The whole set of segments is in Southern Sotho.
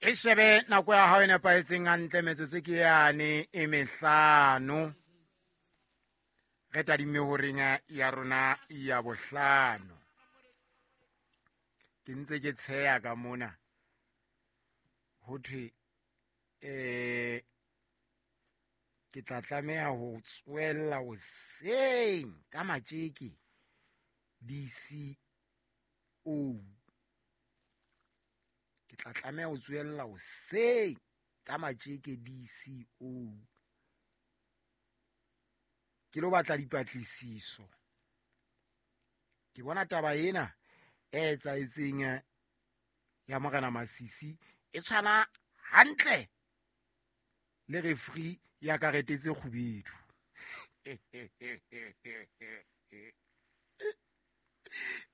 E shebe nako ya hao e nepahetseng hantle, metsotso ke yane e mehlano. Re tadimme horeng ya rona ya bohlano. Ke ntse ke tsheya ka mona. Ho thwe ke tla tlameha ho tswella hoseng ka matjeke DCO. Ke tla tlameha ho tswella hoseng ka matjeke DCO. Ke lo batla dipatlisiso. Ke bona taba ena e etsahetseng ya Morena Masisi e tshwana hantle le referee ya karete tse kgubedu.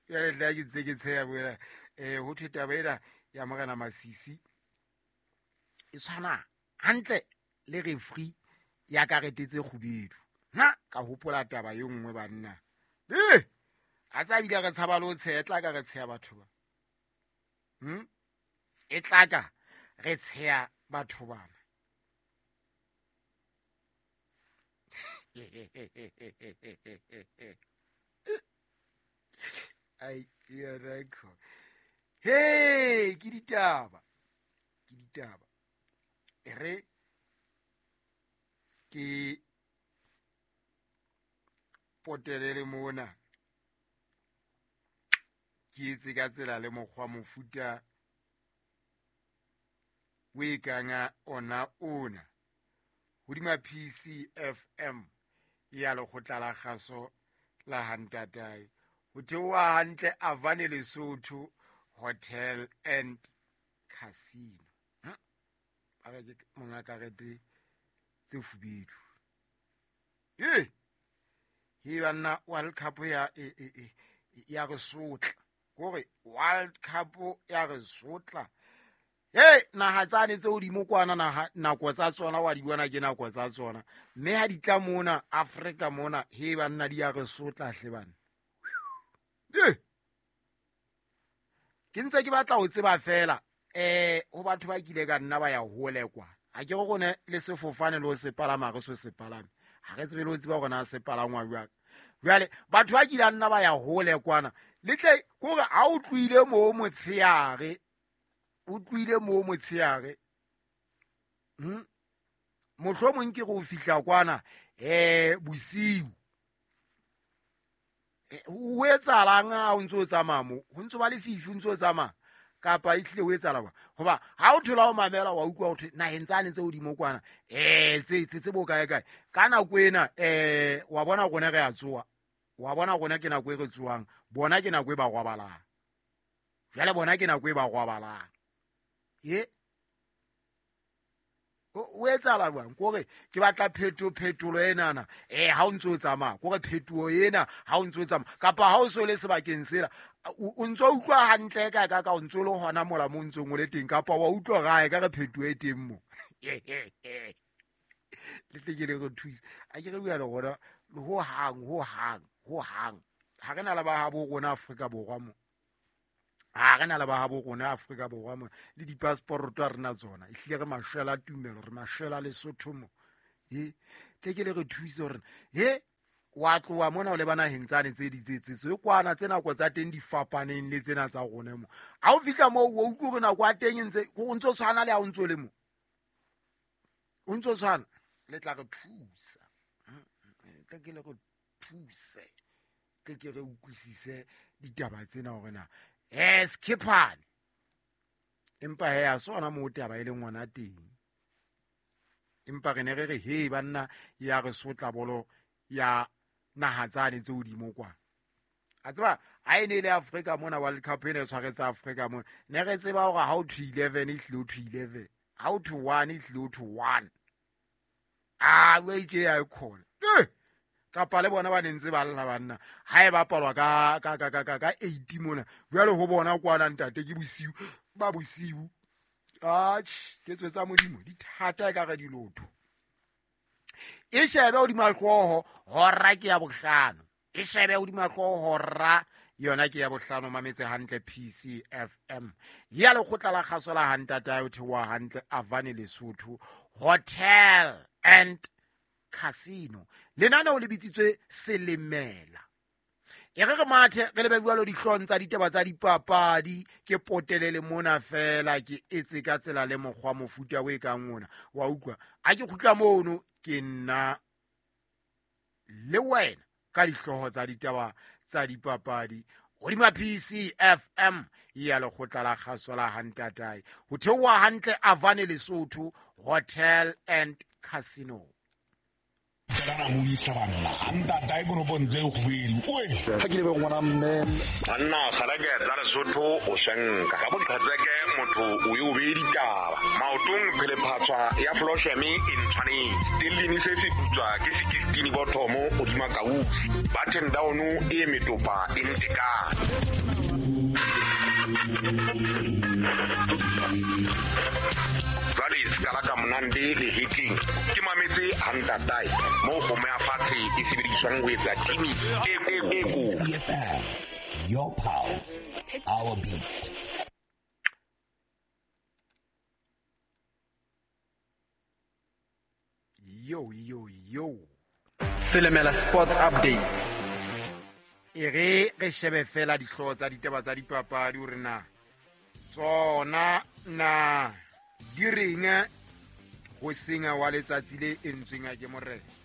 Jwale nna ke ntse ke tsheya boela, ho thwe taba ena ya Morena Masisi e tshwana hantle le referee ya karete tse kgubedu. Nna ka hopola taba e nngwe banna. A tsa bile re tshaba le ho tsheya, e tla ka re tsheya batho ba. E tla ka re tsheya batho bana. Ai, ya rakho. Hey, ke ditaba. Ke ditaba. E re ke potelele mona. Ke etse ka tsela le mokgwa mofuta o e kang ona ona. Hodima PCFM ya lekgotla la kgaso la Hantatae. Ho theoha hantle Avane Lesotho Hotel and Casino. Ba re ke monga karete tse fubedu. He banna World Cup ya ya re sotla. Kore World Cup ya re sotla. Hey, naha tsane tse hodimo kwana naha nako tsa tsona wa di bona ke nako tsa tsona. Mme ha di tla mona Afrika mona, he banna di ya re sotla hle bana. Ke ntse ke batla ho tseba fela, ho batho ba kile ka nna ba ya hole kwa. Ha ke re rone le sefofane le ho se palama, re so se palame. Ha re tsebe le ho tseba hore na se palangwa jwang. Jwale batho ba kile nna ba ya hole kwana. Le tle kore ha o tlohile moo motshehare, o tlohile moo motshehare. Mohlomong ke re o fihla kwana, bosiu. Ho etsahalang ha o ntso o tsamaya moo? Ho ntso ba lefifi, o ntso o tsamaya? Kapa ehlile ho etsahala jwang? Hoba ha o thola o mamela wa utlwa ho thwe naheng tsane tse hodimo kwana, tse bo kae kae. Ka nako ena, wa bona rona re a tsoha. Wa bona rona ke nako e re tsohang. Bona ke nako e ba robalang. Jwale bona ke nako e ba robalang. O etsahala jwang? Kore ke batla phetolo enana. Ha o ntso o tsamaya, kore phetoho ena ha o ntso o tsamaya, kapa ha o so le sebakeng sela, o ntso utlwa hantle ka ka ka o ntso le hona mola mo ntsong o le teng, kapa wa utlwa gae ka re phetoho e teng mo. Le tle ke le re thuse. A ke re bua le rona ho hang, ho hang, ho hang. Ha re na le ba habo rona Afrika Borwa mo. Ha re na le ba habo rona Afrika Borwa mo, le di-passport a rena tsona. Ehlile re mashwela tumelo, re mashwela Lesotho mo. Tle ke le re thuse hore, wa tloha mona o leba naheng tsane tse di tse kwana, tse nako tsa teng di fapaneng le tsena tsa rona mo. Ha o fihla moo, o utlwe hore nako ya teng e ntse, o ntso tshwana le ha o ntso le mo. O ntso tshwana, le tla re thusa. Tle ke le re thuse. Tle ke re utlwisise ditaba tsena hore na, Skipane. Empa he, ha se hona moo taba e leng hona teng. Empa re ne re re, he, banna, ya re sotla bolo ya naha tsane tse hodimo kwa. A tseba, ha e ne e le Afrika mona, World Cup e ne e tshwaretse Afrika mona. Ne re tseba hore ha o thwe 11, e hlile o thwe 11. Ha o thwe 1, e hlile o thwe 1. A, o itse ya e khona. Kapa le bona ba ne ntse ba lla banna. Ha e bapalwa ka 8 mona. Jwale ho bona kwana ntate ke bosiu, ba bosiu. Atjhe, ke tswe tsa Modimo, di thata e ka re dilotho. E shebe hodima hlooho, hora ke ya bohlano. E shebe hodima hlooho, hora Yona ke ya bohlano, mametse hantle PCFM ya lekgotla la kgaso la hantatae, o theoha hantle Avane Lesotho Hotel and Casino. Lenaneo le bitsitswe Selemela. E re re mathe re lebe jwalo dihlong tsa ditaba tsa dipapadi, ke potelele mona fela ke etse ka tsela le mokgwa mofuta o e kang ona wa utlwa. A ke kgutla mono ke nna le wena ka dihlooho tsa ditaba tsa dipapadi hodima PCFM ya lekgotla la kgaso la hantatae, ho theoha hantle Avane Lesotho Hotel and Casino. Ha ke lebe ngwana mme Banna kgaleke tsa Lesotho o shenka ka boqhetseke, motho o ye o beye ditaba maotong, phelephatswa ya flosheme e ntshwanetse stellini se se putswa ke sekistini bothomo hodima kausi button down e metopa e ntekane. Jwale sekala ka monande le hetleng ke mametse hantatae moo kgomo ya fatshe e sebediswang ho etsa timi e e kotsi. CFM, your pulse, our beat. Yo yo yo. Selemela Sports Updates. E re re shebe fela dihlooho tsa ditaba tsa dipapadi hore na tsona na di reng ho senya wa letsatsi le entsweng ke morena.